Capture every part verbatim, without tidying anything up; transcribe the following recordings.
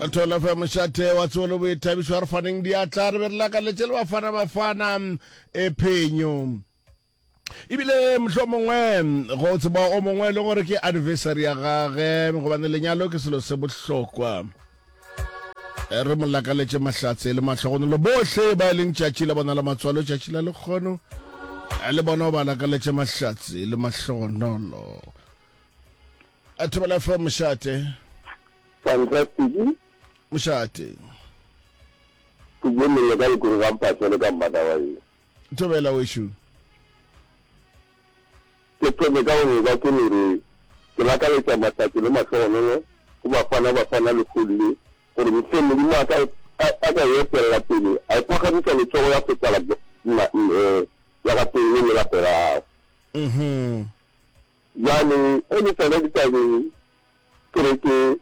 Thobela F M mošate wa tsebo le boithabišo, a re faneng diatla, re be re lakaletše le Bafana Bafana e phenyo. Ebile mohlomongwe go tseba o mongwe le gore ke anniversary ya gage, gobane lenyalo ke selo se bohlokwa. Re mo lakaletše mahlatse le mahlogonolo bohle ba e leng tšatši la bona la matswalo, tšatši la lekgono, le bona o ba lakaletše mahlatse le mahlogonolo. Thobela F M mošate. Fantastic. Mošate. Ke bone ka lekoro ga mphatlhele ka mmataba ye. Thobela wešo. Ke thome ka go ba ke no re ke lakaletša mahlatse le mahlogonolo go Bafana Bafana lehono le, gore mehleng Modimo a ka, a ka e etelela pele, a e phagamiša letsogo ya feta la, la, eh, la ga pele le la morago. Mhm. Bjale, ge ke tsena ditabeng, ke re ke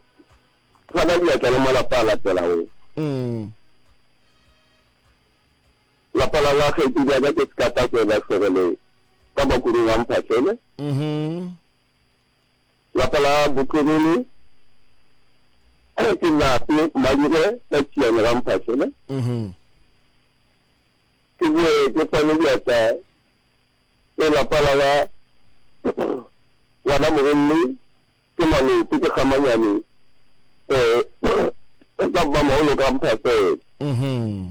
fana diatla le malapa a latelago. Mm. Lapa la ga kgaetšedi ya ka ke Sekata Hlogele ka Makurung a Mphahlele. Mhm. Lapa la Botlogele ke Nape Madire ka Tšiane ga Mphahlele. Mhm. Ke boe ke fane diatla le lapa la ga ngwana mogolle ke Malope ke Kgamanyane, eh, ka Mmamaholo ka Mphahlele. Mhm.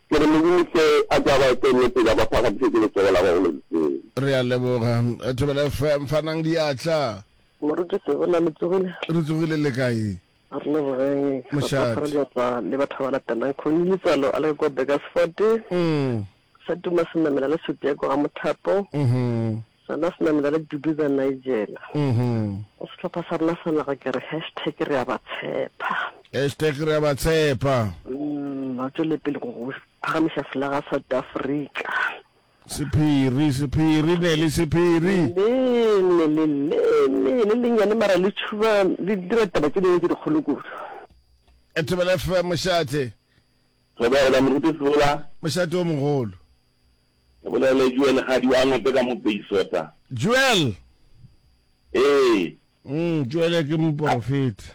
Ke re Modimo hle a ke a ba etelle pele, a ba phagamišetše letsogo la gagwe le letee. Re a leboga. Thobela F M, fanang diatla. Moruti Sebola, le tsogile? Re tsogile, le kae? Re lebogeng. Re Mošate. fana diatla le batho ba ba latelang. Khoni Letswalo a le kwa Burgersfort. Mm. Sa tuma senamela le Setiako ga Mothapo. Mhm. Sona senamela le Duduza Nigel. Mhm. Go sehlopha sa rena sa naga ke re hashtag re a ba tshepa. Hashtag re a ba tshepa. Mm, ba tšwele pele go go phagamiša flaga South Africa. Sephiri, sephiri, ne le sephiri. Leme, le leme, le lennyane mara le tšhuba, le dira taba tše dingwe tše dikgolo kudu. Thobela F M, mošate. Thobela, Moruti Sebola. Mošate o mogolo. Ke bolele Joel Gadi wa Ngope ka mo Peisota. Joel? Ee. Mm, Joel ke moporofeta.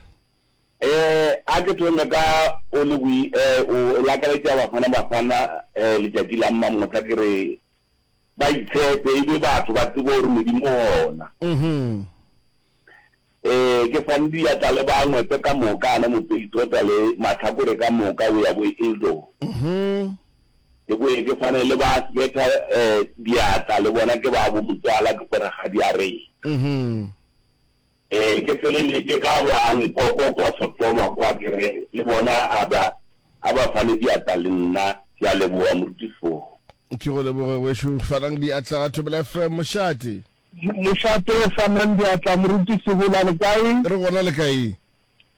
Eh, a ke thome ka o le boi, eh, o lakaletša Bafana Bafana, eh, letšatši la mmamotla, ke re ba itshepe, e be batho ba tsebe gore Modimo o gona. Mhm. Eh, ke fane diatla le ba Ngwepe ka moka, ana Mopeisota le mahlakore ka moka, o ya bo Eldor. Mhm. Ke boye ke fane le ba Sveta, eh, diatla le bona ke ba bo motswala, ke gore ga di a re. Mhm. Eh, ke feleletše ka ba Nkoko kwa Sotoma kwa, ke re le bona a ba, a ba fane diatla le nna. Ke a leboga, Moruti Foo. Ke go leboge wešo. Fanang diatla ga Thobela F M, mošate. Mošate, fanang diatla, Moruti Sebola, le kae? Re gona, le kae?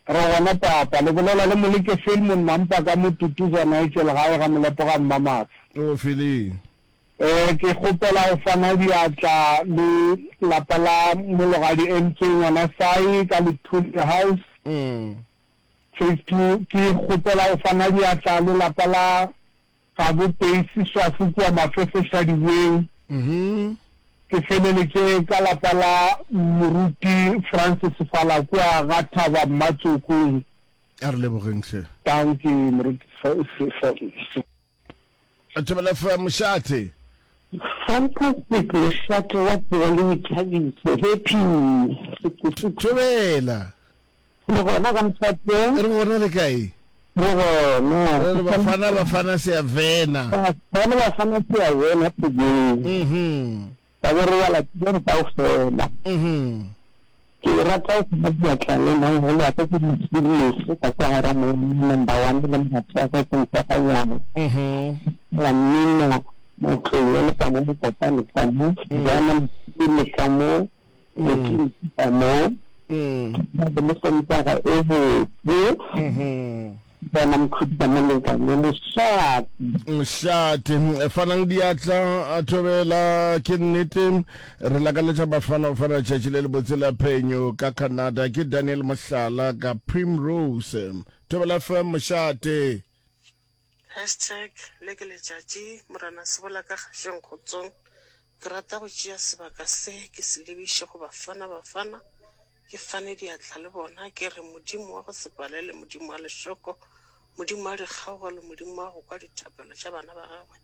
Re gona papa. Le bolela le Moleke Philemon Mampa ka mo Tutuza Nigel gae ga Molepo ga Mmamatsha. O Philly. Eh, ke kgopela go fana diatla le lapa la Mologadi M K ngwana Sai ka Lethuli House. Mm. Phase two, ke kgopela go fana diatla le lapa la Gabo Peisi Swafu kua Mafefe Shadiweng. Mhm. Ke feleletše ka lapa la Moruti Francis Fala kua ga Thaba Mmatsokong. A re lebogeng hle. Dankie Moruti F-, Thobela F M, mošate. Fantastic, mošate wa tsebo le boithabišo. Happy. Thobela. Le gona ka mošate? Re gona, le kae? Re gona. Re re Bafana Bafana se a vena. Bafana Bafana se a vena today. Mhm. Ba be re bala tse kaofela. Mhm. Ke rata go ba diatla le mangolo a ka ke di ka kwa gara mo number one le mogatse wa ka ke mpaganyana. Mhm. La mmino motlolo le ka mo mokopane ka mo, jana le ka mo, le ka mo. Mm. Ba le sontaga e botse. Mhm. Bona mokhudi ka molekane mošate. Mošate, fanang diatla, a thobela ke nnete. Re lakaletša Bafana Bafana letšatši le lebotse la phenyo ka Canada. Ke Daniel Mohlala ka Primrose. Thobela F M mošate. Hashtag le ke letšatši Morena Sebola ka kgašeng kgotsong. Ke rata go tšea sebaka se ke se lebiše go Bafana Bafana. Ke fane diatla le bona, ke re, Modimo wa go se palele, Modimo wa lešoko, Modimo wa dikgaogelo, Modimo wa go kwa dithapelo tša bana ba gagwe,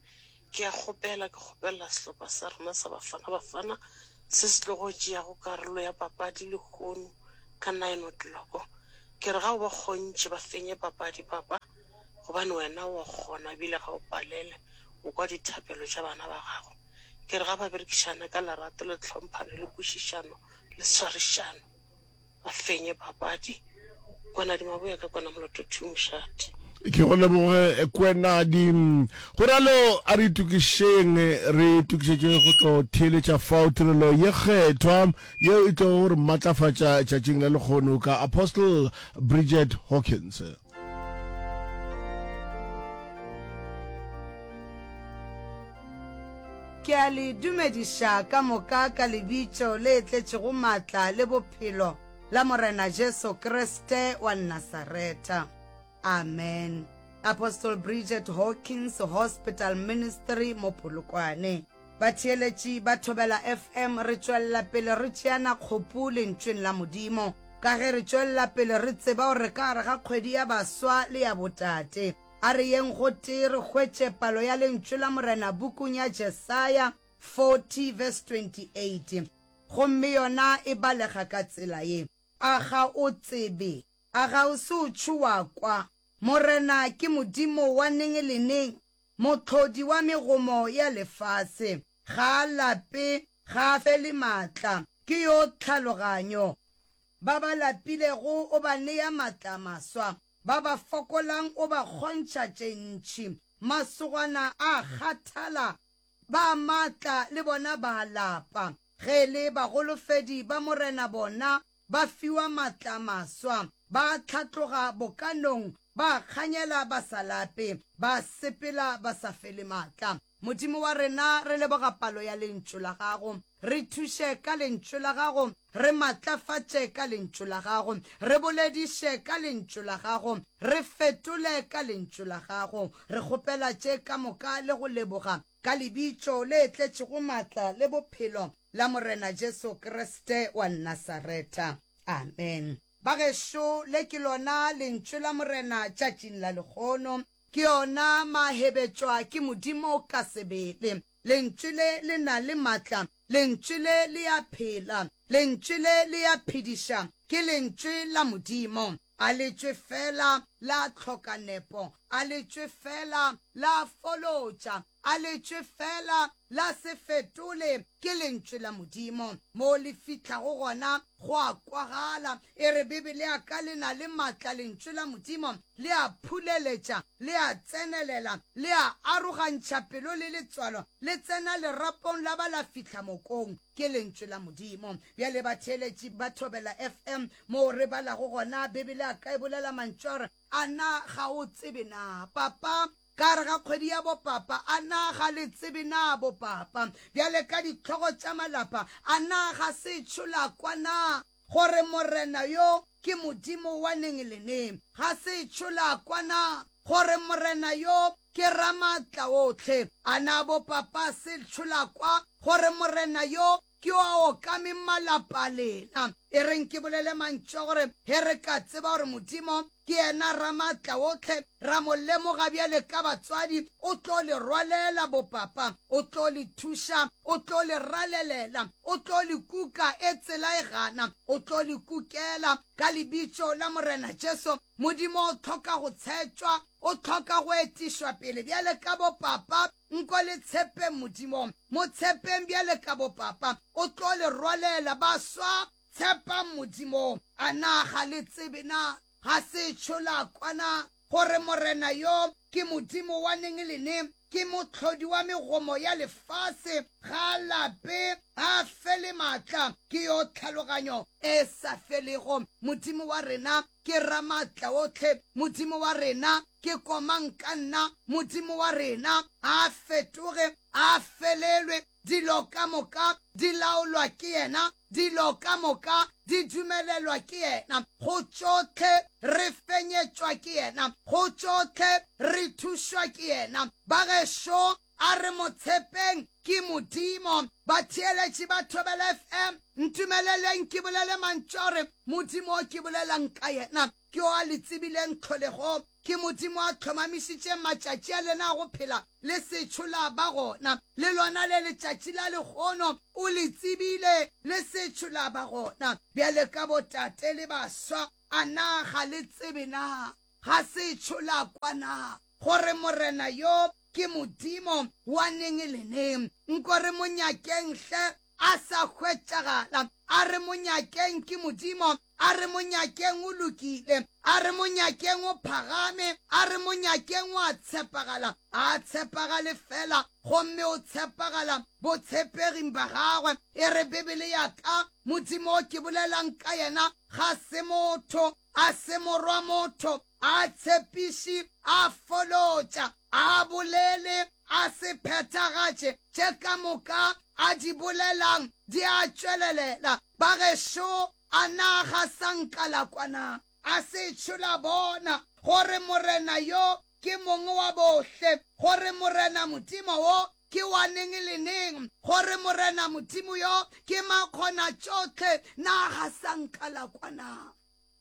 ke a kgopela, ke kgopelela sehlopha sa rena sa Bafana Bafana se se tlogo tšeago karolo ya papadi lehono ka nine o'clock. Ke re ga o ba kgontšhe ba fenye papadi, Papa, gobane wena o a kgona ebile ga o palele, o kwa dithapelo tša bana ba gago. Ke re ga ba berekišane ka lerato le tlhomphano le kwešišano le swarišano, ba fenye papadi. Kwenadi Maboya ka Kwana Moloto two Mošate. Ke go leboge Kwenadi. Go ralo a re itokišeng, re itokišetše go tlo theeletša fao tirelo ye kgethwa yeo e tlogo go re matlafatša tšatšing la lekgono ka Apostle Bridget Hawkins. Ke a le dumediša ka moka ka lebitso le tletšego maatla le bophelo la Morena Jesu Kriste wa Nasaretha. Amen. Apostle Bridget Hawkins Hospital Ministry mo Polokwane. Batheeletši ba Thobela F M re tšwelela pele re tšeana kgopu Lentšweng la Modimo ka ge re tšwelela pele re tseba gore ka gare ga kgwedi ya baswa le ya botate. A re yeng gotee re hwetše palo ya Lentšu la Morena bukung ya Jesaya forty verse twenty eight gomme yona e balega ka tsela ye, A ga o tsebe? A ga o se o tšho wa kwa? Morena ke Modimo wa neng le neng, Mohlodi wa megomo ya lefase. Ga a lape, ga a fele maatla, ke yo tlhaloganyo. Ba ba lapilego o ba nea maatla a maswa, ba ba fokolang o ba kgontšha tše ntši. Masogana a kgathala, ba maatla le bona ba a lapa. Ge e le bagolofedi ba Morena bona ba fiwa maatla a maswa, ba hlatloga bokanong, ba kganyela ba sa lape, ba sepela ba sa fele maatla. Modimo wa rena, re leboga palo ya Lentšu la Gago. Re thuše ka Lentšu la Gago, re matlafatše ka Lentšu la Gago, re bolediše ka Lentšu la Gago, re fetole ka Lentšu la Gago. Re kgopela tše ka moka le go leboga ka Lebitso le tletšego maatla le bophelo la Morena Jesu Kriste wa Nasaretha. Amen. Bagešo, le ke lona Lentšu la Morena tšatšing la lekgono. Ke yona mahebetšwa ke Modimo ka sebele. Lentšu le le na le maatla. Lentšu le le a phela. Lentšu le le a phediša. Ke Lentšu la Modimo. A le tšwe fela la hloka nepo. A le tšwe fela la folotša. A le tšwe fela la se fetole. Ke Lentšu la Modimo. Mo le fihlago gona go a kwagala. E re Bibele ya ka le na le maatla, Lentšu la Modimo le a phuleletša, le a tsenelela, le a arogantšha pelo le letswalo, le tsena lerapong la ba la fihla mokong. Ke Lentšu la Modimo. Bjale batheeletši ba Thobela F M moo re balago gona, Bibele ya ka e bolela mantšu a gore, A na ga o tsebe na, papa? Ka gare ga kgwedi ya bopapa, a na ga le tsebe na bopapa? Bjale ka dihlogo tša malapa, a na ga se tšho la kwa na gore Morena yo ke Modimo wa neng le neng? Ga se tšho la kwa na gore Morena yo ke Ramaatlaohle? A na bopapa se tšho la kwa gore Morena yo ke yo a okameng malapa a lena? E reng ke bolele mantšu a gore ge re ka tseba gore Modimo ke yena Ramaatlaohle, ra mo lemoga bjale ka batswadi, o tlo le rwalela bopapa, o tlo le thuša, o tlo le ralelela, o tlo le kuka e tsela e gana, o tlo le kukela ka lebitso la Morena Jesu. Modimo o hloka go tshetšwa, o hloka go etišwa pele bjale ka bopapa. Nko le tshepeng Modimo, mo tshepeng bjale ka bopapa, o tlo le rwalela. Baswa, tshepang Modimo. A na ga le tsebe na? Ga se tšho la kwa na gore Morena yo ke Modimo wa neng le neng, ke Mohlodi wa megomo ya lefase, ga a lape, ga a fele maatla, ke yo tlhaloganyo e sa felego. Modimo wa rena ke Ramaatlaohle, Modimo wa rena ke Komangkanna, Modimo wa rena ga a fetoge, ga a felelwe, dilo ka moka di laolwa ke yena, dilo ka moka di dumelelwa ke yena, go tšohle re fenyetšwa ke yena, go tšohle re thušwa ke yena. Bagešo, A re mo tshepeng, ke Modimo. Batheeletši ba Thobela F M, ntumeleleng ke bolele mantšu a gore Modimo o ke bolelang ka yena ke yo a le tsebileng tlholegong. Ke Modimo a hlomamišitšeng matšatši a lena a go phela le sešo la ba gona. Le lona le letšatši la lehono o le tsebile le sešo la ba gona. Bjale ka botate le baswa, a na ga le tsebe na? Ga sešo la kwa na gore Morena yo ke Modimo wa neng le neng? Nko re mo nyakeng hle a sa hwetšagala. A re mo nyakeng ke Modimo, a re mo nyakeng o lokile, a re mo nyakeng o phagame, a re mo nyakeng o a tshepagala. A tshepagale fela, gomme o tshepagala botshepeging ba gagwe. E re Bibele ya ka, Modimo o ke bolelang ka yena ga se motho, a se morwa motho, a tshepiši, a folotša, a bolele, a se phethagatše. Tše ka moka a di bolelang di a tšwelelela. Ba gešo, a na ga sa nka la kwana? A se tšho la bona gore Morena yo ke mongwe wa bohle, gore Morena Modimo wo ke wa neng le neng, gore Morena Modimo yo ke makgona tšohle? Na ga sa nka la kwana?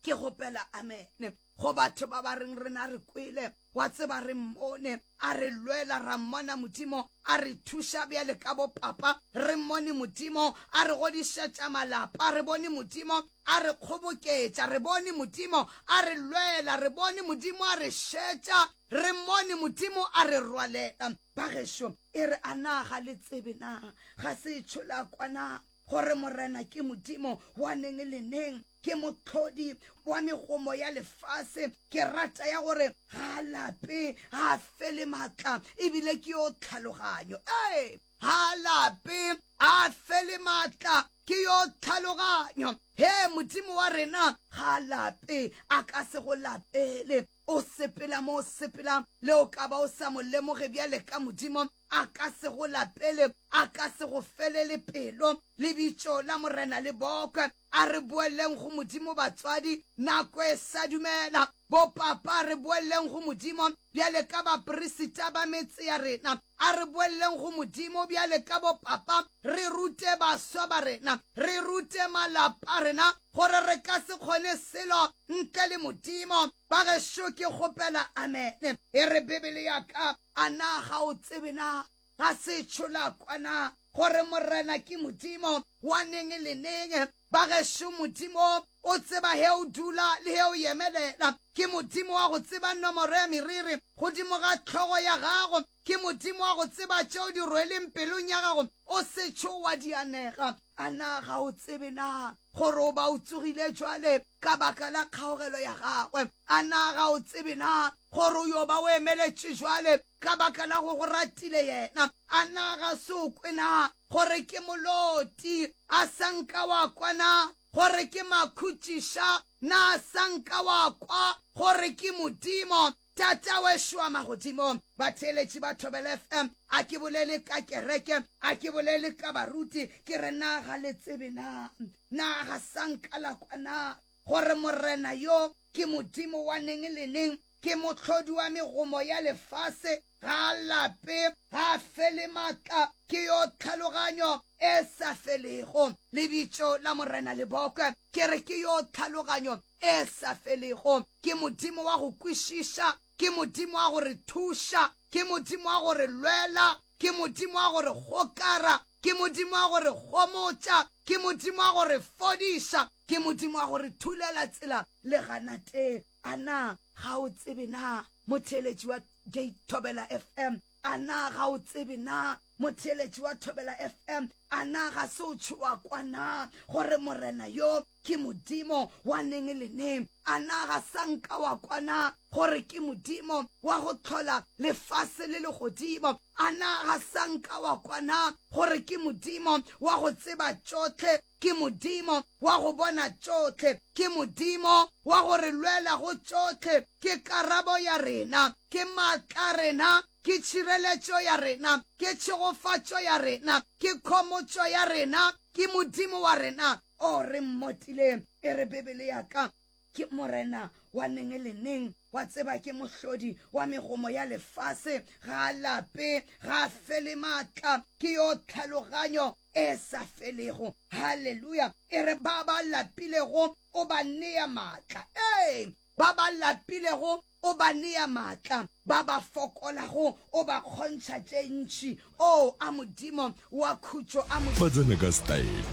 Ke kgopela amene go batho ba ba reng rena re kwele, wa tseba re mmone a re lwela, ra mmona Modimo a re thuša bjale ka bopapa, re mmone Modimo a re godišetša malapa, re bone Modimo a re kgoboketša, re bone Modimo a re lwela, re bone Modimo a re šetša, re mmone Modimo a re rwalela. Ba gešo, e re a na ga le tsebe na? Ga se tšho la kwana gore Morena ke Modimo wa neng le neng, ke mohlodi wa megomo ya lefase? Ke rata ya gore ga a lape, ga a fele maatla, ebile ke yo tlhaloganyo. Ee, ga a lape, a fele maatla, ke yo tlhaloganyo. He, Modimo wa rena ga a lape, a ka se go lapele. O sepela mo o sepela, le o ka ba o sa mo lemoge bjale ka Modimo, a ka se go lapele, a ka se go felele pelo. Lebitso la Morena le bokwe. A re boeleng go Modimo batswadi, nako e sa dumela. Bopapa, re boeleng go Modimo bjale ka baperisita ba metse ya rena. A re boeleng go Modimo bjale ka bopapa, re rute baswa ba rena, re rute malapa a rena gore re ka se kgone selo ntle le Modimo. Ba gešo, ke kgopela amene. E re Bibele ya ka, a na ga o tsebe na? Ga se tšho la kwana gore Morena ke Modimo wa neng le neng? Ba gešo, Modimo o tseba he o dula le he o yemelela. Ke Modimo wa go tseba nomoro ya meriri godimo ga hlogo ya gago. Ke Modimo wa go tseba tšeo di rweleng pelong ya gago o se tšho wa di anega. A na ga o tsebe na gore o ba o tsogile jwale ka baka la kgaogelo ya gagwe? A na ga o tsebe na gore o yo ba o emeletše jwale ka baka la go go ratile yena? A na ga se o kwe na gore ke moloti? A sa nka wa kwa na gore ke makhutšiša? Na sa nka wa kwa gore ke Modimo Tata wešo wa magodimo? Batheeletši ba Thobela F M, a ke bolele ka kereke, a ke bolele ka baruti, ke re na ga le tsebe na? Na ga sa nka la kwa na gore Morena yo ke Modimo wa neng le neng, ke mohlodi wa megomo ya lefase, ga a lape, ga a fele maatla, ke yo tlhaloganyo e sa felego. Lebitso la Morena le bokwe. Ke re ke yo tlhaloganyo e sa felego, ke Modimo wa go kwešiša, ke Modimo wa go re thuša, ke Modimo wa go re lwela, ke Modimo wa go re gokara, ke Modimo wa go re gomotša, ke Modimo wa go re fodiša, ke Modimo wa go re thulela tsela le ganateng. A na ga o tsebe na, motheeletši wa Gate Thobela F M? A na ga o tsebe na, motheeletši wa Thobela F M? A na ga se o tšhoa kwa na gore Morena yo ke Modimo wa neng le neng? A na ga sa nka wa kwa na gore ke Modimo wa go hlola lefase le legodimo? A na ga sa nka wa kwa na gore ke Modimo wa go tseba tšohle, ke Modimo wa go bona tšohle, ke Modimo wa go re lwela go tšohle? Ke karabo ya rena, ke maatla a rena, ke tšhireletšo ya rena, ke tšhegofatšo ya rena, ke khomotšo ya rena, ke Modimo wa rena o re mmotileng. E re Bibele ya ka, Ke Morena wa neng le neng, wa tseba, ke Mohlodi wa megomo ya lefase. Ga a lape, ga a fele maatla, ke yo tlhaloganyo e sa felego. Haleluya! E re ba ba lapilego o ba nea maatla. Ee, ba ba lapilego o ba nea maatla, ba ba fokolago o ba kgontšha tše ntši. Oo, a Modimo wa khutšo, a Modimo. Ba tsena ka style,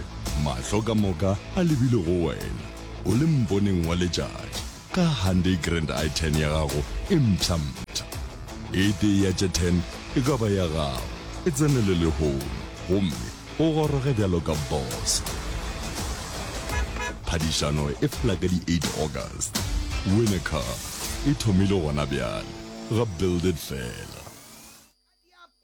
mahlo ka moka a lebile go wena, o le mponeng wa letšatši, ka Hyundai Grand i ten ya gago e mpsha-mpsha. E tee ya tše ten e ka ba ya gago. E tsenele lehono gomme o goroge bjalo ka boss. Phadišano e fela ka di eight August. Win a car e thomile gona bjale ga Build It Fela.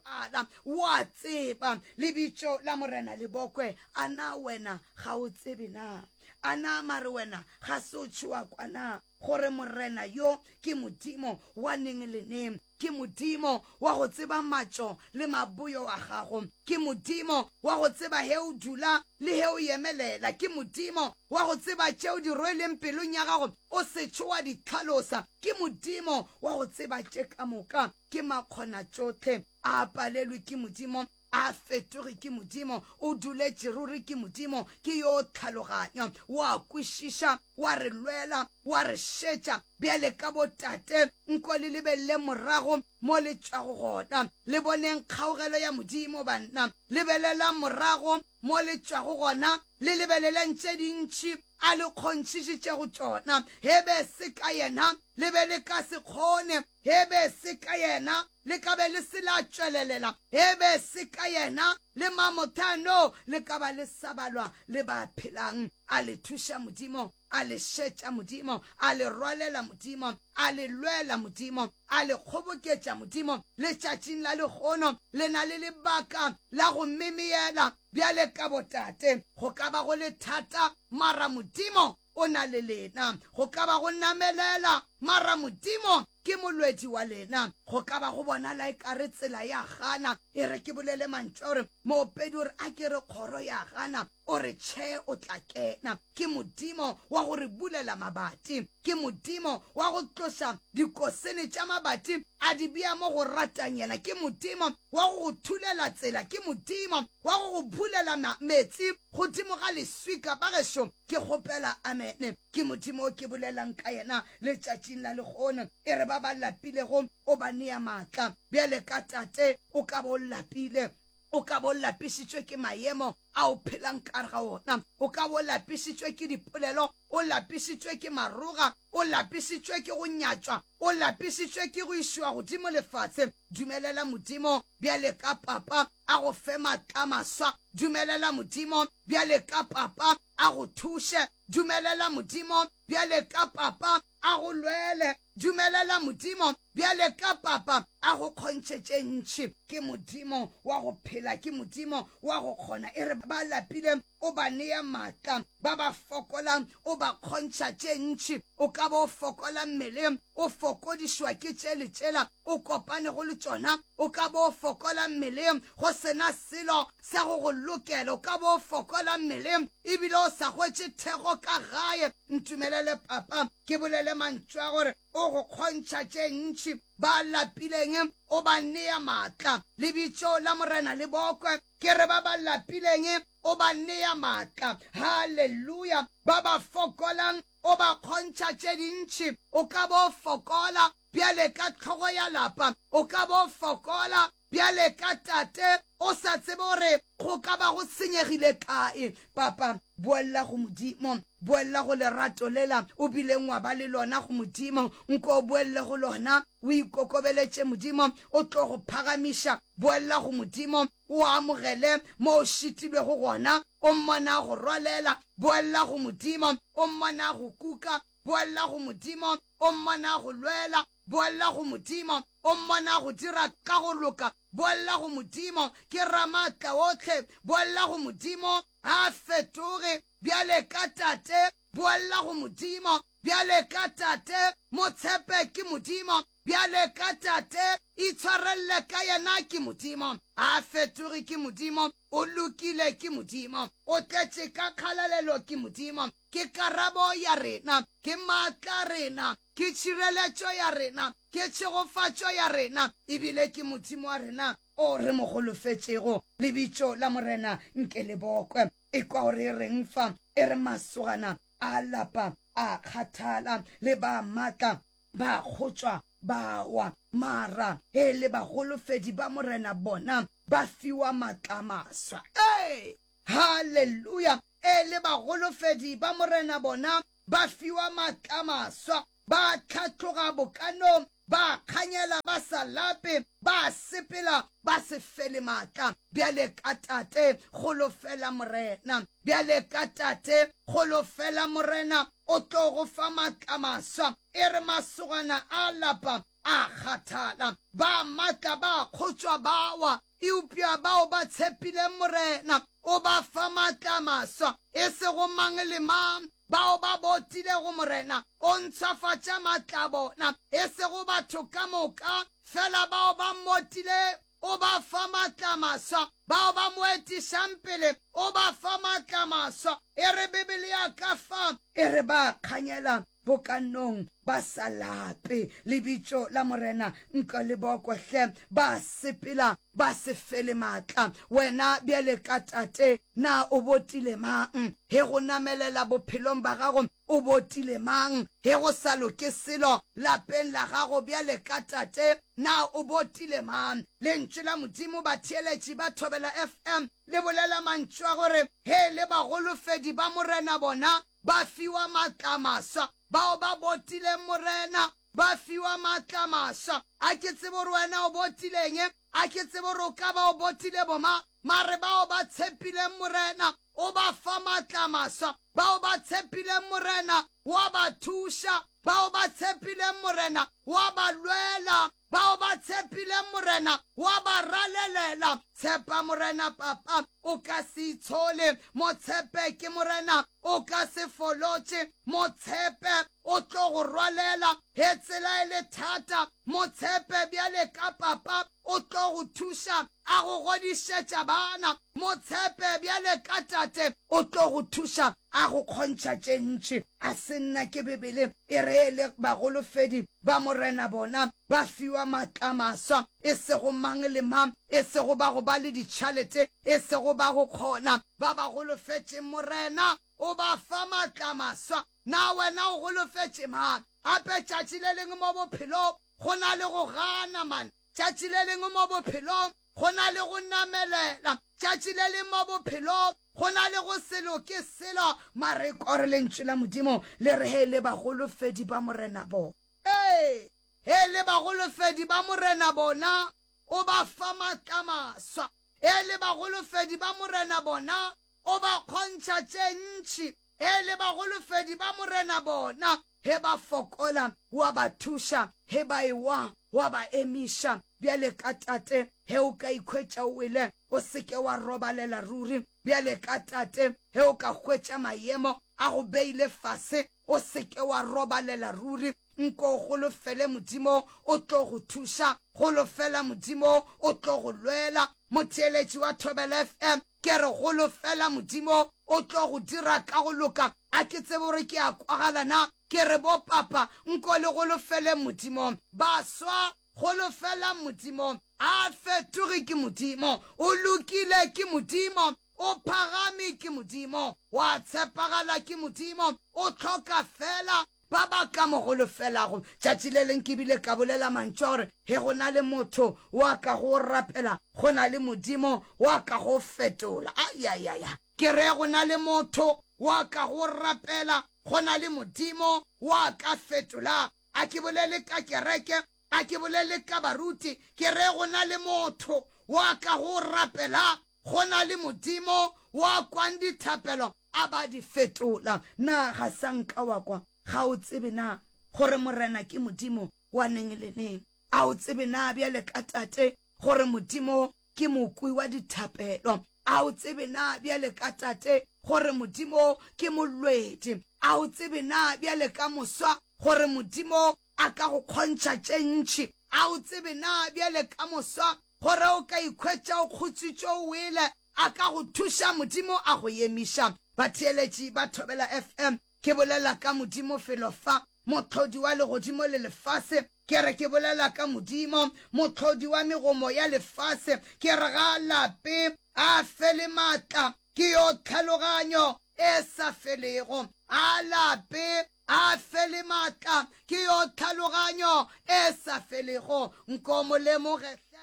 Pala, o a tseba lebitso la Morena Lebokwe, a na wena ga o tsebe na? A na mare wena ga se o tšhoa kwa na gore Morena yo ke Modimo wa neng le neng? Ke Modimo wa go tseba matšo le maboyo a gago. Ke Modimo wa go tseba he o dula le he o emelela. Ke Modimo wa go tseba tše o di rweleng pelong ya gago o se tšho wa di hlalosa. Ke Modimo wa go tseba tše ka moka. Ke makgonatšohle. A palelwe ke Modimo, a fetoge ke Modimo, o duletše ruri ke Modimo, ke yo tlhaloganyo, wa kwešiša, wa re lwela, wa re šetša bjale ka botate. Nko le lebelele morago mo le tšwago gona, le boneng kgaugelo ya Modimo, banna. Lebelelang morago mo le tšwago gona, le lebeleleng tše dintši a le kgonthišitšego tšona. He be se ka yena, le be le ka se kgone. He be se ka yena, le ka be le se la tšwelelela. He be se ka yena, le mamothano, le ka ba le sa balwa le ba phelang. A le thuša Modimo, a le šetša Modimo, a le rwalela Modimo, a le lwela Modimo, a le kgoboketša Modimo. Letšatšing la lehono le na le lebaka la go memeyela bjale ka botate. Go ka ba go le thata, mara Modimo o na le lena. Go ka ba go namelela, mara Modimo ke molwedi wa lena. Go ka ba go bonala ekare tsela ya gana. E re ke bolele mantšu a gore moopedi o re a ke re kgoro ya gana, o re tšhe o tla kena. Ke Modimo wa go re bulela mabati. Ke Modimo wa go tloša dikosene tša mabati a di bea mo go ratang yena. Ke Modimo wa go go thulela tsela. Ke Modimo wa go go bulela metsi godimo ga leswika. Bagešo, ke kgopela amene. Ke Modimo o ke bolelang ka yena letšatšing la lehono. E re ba ba lapilego o ba nea maatla. Bjale ka tate, o ka ba o lapile, o ka ba o lapišitšwe ke maemo a o phelang ka gare ga ona, o ka ba o lapišitšwe ke dipolelo, o lapišitšwe ke maroga, o lapišitšwe ke go nyatšwa, o lapišitšwe ke go išiwa godimo lefatshe. Dumelela Modimo bjale ka papa a go fe maatla a maswa. Dumelela Modimo bjale ka papa a go thuše. Dumelela Modimo bjale ka papa a go lwele. Dumelela Modimo bjale ka papa a go kgontšhe tše ntši. Ke Modimo wa go phela, ke Modimo wa go kgona. E re ba lapile o ba nea maatla, ba ba fokolang o ba kgontšha tše ntši. O ka ba o fokola mmeleng, o fokodišwa ke tše le tšela o kopanego le tšona. O ka ba o fokola mmeleng go se na selo sa go go lokela. O ka ba o fokola mmeleng ebile o sa hwetše thekgo ka gae. Ntumelele papa ke bolele mantšu a gore o go kgontšha tše ntši. Ba lapileng o ba nea maatla. Lebitso la Morena le bokwe. Ke re ba ba lapileng o ba nea maatla. Haleluya! Ba ba fokolang o ba kgontšha tše dintši. O ka ba o fokola bjale ka hlogo ya lapa, o ka ba o fokola bjale ka tate, o sa tsebe gore go ka ba go senyegile kae. Papa, boella go Modimo, boella go lerato lela o bileng wa ba le lona go Modimo. Nko o boelle go lona, o ikokobeletše Modimo, o tlo go phagamiša. Boella go Modimo, o amogele mo o šitilwego gona, o mmona a go rwalela. Boella go Modimo, o mmona a go kuka. Boella go Modimo, o mmona a go lwela. Boella go Modimo, o mmona a go dira ka go loka. Boella go Modimo, ke Ramaatlaohle. Boella go Modimo, ga a fetoge bjale ka tate. Boella go Modimo, bjale ka tate. Mo tshepe ke Modimo, bjale ka tate. Itshware Itshwarelele ka yena, ke Modimo. A fetoge, ke Modimo. O lokile, ke Modimo. O tletše ka kgalalelo, ke Modimo. Ke karabo ya rena, ke maatla a rena, ke tšhireletšo ya rena, ke tšhegofatšo ya rena, ebile ke Modimo wa rena o re mo holofetšego. Lebitso la Morena nke le bokwe. Ekwa gore e reng fa, e re masogana a lapa a kgathala, le ba matla ba kgotšwa ba wa, mara e le baholofedi ba Morena bona ba fiwa matla a maswa. Ee! Haleluya! E le baholofedi ba Morena bona ba fiwa matla a maswa, ba hlatloga bokanong, ba kganyela ba sa lape, ba sepela ba se fele matla. Bjale ka Tate, holofela Morena. Bjale ka Tate, holofela Morena, o tlo go fa matla a maswa. E re masogana a lapa a kgathala, ba matla ba kgotšwa ba wa, eupša bao ba tshepileng Morena o ba fa matla a maswa, e sego mang le mang. Bao ba botilego Morena o ntshwafatša matla a bona, e sego batho ka moka, fela bao ba mmotilego o ba fa matla a maswa, bao ba mo etišang pele o ba fa matla a maswa. E re Bibele ya ka fa, e re ba kganyela bokanong ba sa lape, lebitso la Morena nka le bokwe hle, ba sepela ba se fele matla. Wena bjale ka tate, na o botile mang? He go namelela bophelong ba gago, o botile mang? He go sa loke selo lapeng la gago bjale ka tate, na o botile mang? Lentšu la Modimo, batheeletši ba Thobela F M, le bolela mantšu a gore, He le bagolofedi ba Morena bona ba fiwa matla a maswa. Bao ba botileng Morena ba fiwa matla a maswa. A ke tsebe gore wena o botileng, a ke tsebe gore o ka ba o botile boma, mare bao ba tshepileng Morena o ba fa matla a maswa. Bao ba tshepileng Morena wa ba thuša, bao ba tshepileng Morena wa ba lwela, bao ba tshepileng Morena wa ba ralelela. Tshepa Morena papa, o ka se itshole. Mo tshepe ke Morena, o ka se folotše. Mo tshepe, o tlo go rwalela. He tsela e le thata, mo tshepe bjale ka papa, o tlo go thuša a go godišetša bana. Mo tshepe bjale ka tate, o tlo go thuša a go kgontšha tše ntši. A se nna ke Bibele e re e le bagolofedi ba Morena bona ba fiwa matla a maswa, e sego mang le mang, e sego ba go ba le ditšhalete, e sego ba go kgona. Ba ba golofetšeng Morena o ba fa matla a maswa. Na wena o golofetše mang? Gape tšatši le lengwe mo bophelong go na le go gana man. Tšatši le lengwe mo bophelong go na le go namelela. Tšatši le lengwe mo bophelong go na le go se loke selo. Mare kore lentšu la Modimo le re he le bagolofedi ba Morena bona. Ee, he le bagolofedi ba Morena bona o ba fa matla maswa. He le bagolofedi ba Morena bona o ba kgontšha tše ntši. He le bagolofedi ba Morena bona, he ba fokola wa ba thuša, he ba ewa wa ba emiša. Bjale ka tate, he o ka ikhwetša o wele, o se ke wa robalela ruri. Bjale ka tate, he o ka hwetša maemo a go beile fase, o se ke wa robalela ruri. Nko o golofele Modimo, o tlo go thuša. Golofela Modimo, o tlo go lwela. Motheeletši wa Thobela F M, ke re golofela Modimo, o tlo go dira ka go loka. A ke tsebe gore ke a kwagala na? Ke re bo papa, nko le golofele Modimo. Baswa, golofelang Modimo. A fetoge ke Modimo, o lokile ke Modimo, o phagame ke Modimo, wa tshepagala ke Modimo, o hloka fela ba ba ka mo golofelago. Tšatši le leng ke bile ka bolela mantšu a gore he go na le motho wa ka go rapela, go na le Modimo wa ka go fetola. Ayayaya, ke re go na le motho wa ka go rapela, go na le Modimo wa ka fetola. A ke bolele ka kereke, a ke bolele ka baruti, ke re go na le motho wa ka go rapela, go na le Modimo wa kwang dithapelo a ba di fetola. Na ga sa nka wa kwa? Ga o tsebe na gore Morena ke Modimo wa neng le neng? A o tsebe na bjale ka tate gore Modimo ke mokwi wa dithapelo? A o tsebe na bjale ka tate gore Modimo ke molwedi? A o tsebe na bjale ka moswa gore Modimo a ka go kgontšha tše ntši? A o tsebe na bjale ka moswa gore o ka ikhwetša o kgotsitšwe o wele? A ka go thuša Modimo a go emiša. Batheeletši ba Thobela FM, ke bolela ka Modimo felo fa, Mohlodi wa legodimo le lefase. Ke re ke bolela ka Modimo, Mohlodi wa megomo ya lefase. Ke re ga a lape, a fele maatla, ke yo tlhaloganyo e sa felego. A lape, a fele maatla, ke yo tlhaloganyo e sa felego. Nko mo lemoge hle.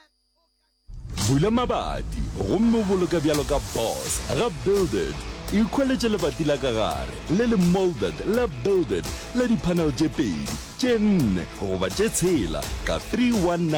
Bula mabati gomme o boloke bjalo ka boss ga Build It. Ikhweletše lebati la ka gare le le moulded la Build It la di-panel tše pedi, tše nne goba tše tshela ka three one nine.